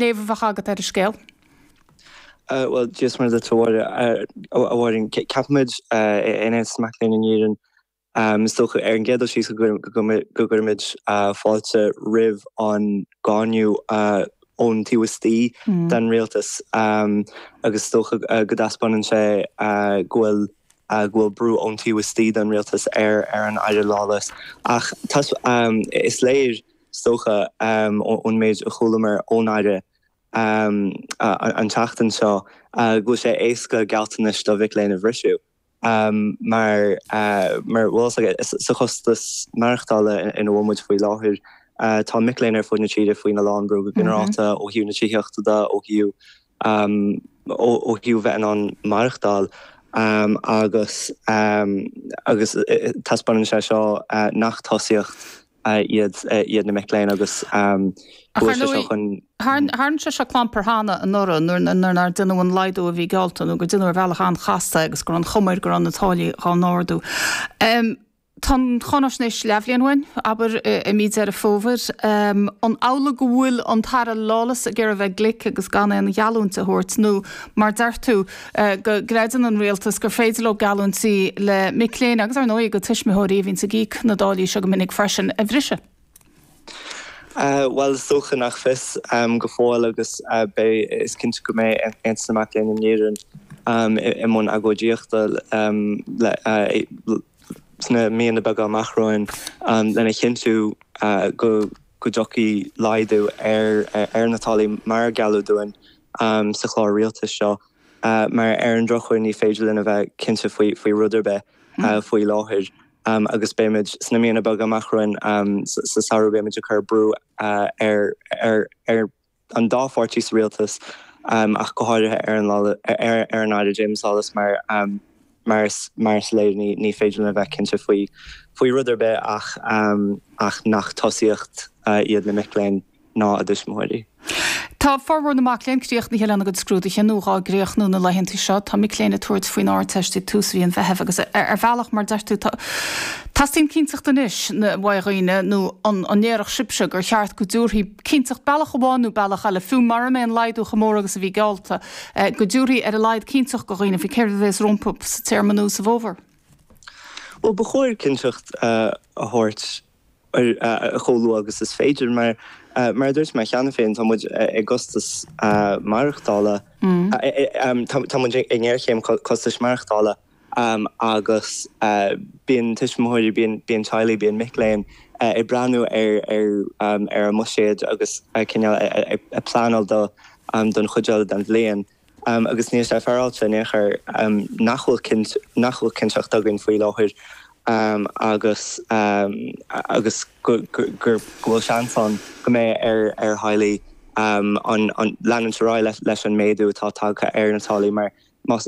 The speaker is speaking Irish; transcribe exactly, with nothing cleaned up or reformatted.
Léamh a bheadh agat ar an scéal? Bhuel, Dia is Muire duit, a Mháirín. Ceapaimid in Aontas na Mac Léinn in Éirinn, is dócha, ar an gcéad dul síos go gcuirimid fáilte roimh an gcáineadh ón taobh istigh den rialtas agus is dócha go dtaispeánann sé go bhfuil go bhfuil brú ón taobh istigh den rialtas ar ar an Aire Lawless. Ach is léir, is dócha, ón méid a chualamar ón Aire an tseachtain seo go bhfuil sé éasca gealltanais do mhic léinn a bhriseadh mar mar bhfuil sa chostas maireachtála ina bhfuil muid faoi láthair. Tá mic léinn ar fud na tíre faoina lán brú go ginearálta ó thaobh na tithíochta de, ó thaobh ó thaobh bheith in ann maireachtáil agus agus taispeánann sé seo nach tosaíocht iad iad na mic léinn agus go bhfuil sé seo chun. Tharla sé seo clampar cheana anuraidh nuair nár deineadh an laghdú a bhí geallta nó gur deineadh ar bhealach an-chasta agus go raibh an chuma air go raibh na táillí dhá n-ardú. Tá an cháinaisnéis leathbhliain uainn, abair, i mí Deireadh Fómhair. An amhlaidh go bhfuil an tAire Lawless ag iarraidh a bheith glic agus gan aon gheallúint a thabhairt nó, mar deir tú, go gcreideann an rialtas gur féidir leo geallúintí le mic léinn agus ar ndóigh go tuismitheoirí a bhíonns ag íoc na dtáillí seo go minic freisin, a bhriseadh? Bhuel, is dócha nach fios go fóill agus beidh, is cinnte go mbeidh Aontas na Mac Léinn in Éirinn i mbun agóidíochta le sna míonna beaga amach romhainn lena chinntiú go go dtiocfaidh laghdú ar ar na táillí mar a gealladh dúinn sa chlár rialtais seo mar ar an drochuair ní féidir linn a bheith cinnte faoi faoi rud ar bith faoi láthair agus beimid sna míonna beaga amach romhainn sa samhradh beimid ag cur brú ar ar ar an dá pháirtí sa rialtas ach go háirithe ar an ar an Aire James Lawless mar mar is mar is léir ní ní féidir linn a bheith cinnte faoi faoi rud ar bith ach ach nach tosaíocht iad na mic léinn ná a dtuismitheoirí. Tá formhór na mac léinn críochnaithe lena gcuid scrúduithe nó dhá gcríochnú na laethanta seo. Tá mic léinn ag tabhairt faoin Ardteist ag tús mhí an Mheithimh agus ar bhealach, mar deir tú, teastaíonn cinnteacht anois uaidh dhaoine nó an ndéarfadh sibhse gur cheart go dtabharfaí cinnteacht bealach amháin nó bealach eile, fiú mura mbeidh an laghdú chomh mór agus a bhí geallta, go dtabharfaí ar a laghad cinnteacht do dhaoine faoi céard a bheas rompu sa téarma nó sa bhfómhar? Bhuel, ba chóir cinnteacht a thabhairt chomh luath agus is féidir mar, mar a dúirt mé cheana féin, tá muid i gcostas maireachtála, tá muid i ngéarchéim costais maireachtála agus bíonn tuismitheoirí, bíonn teaghlaigh, bíonn mic léinn ag breathnú ar ar a mbuiséad agus cineál ag pleanáil don chuid eile den bhliain. Agus níl sé féaráilte in aon chor nach bhfuil nach bhfuil cinnteacht againn faoi láthair agus agus go go bhfuil seans ann go mbeidh ar ar theaghlaigh an an leanúint ar aghaidh leis an méadú atá tagtha ar na táillí mar más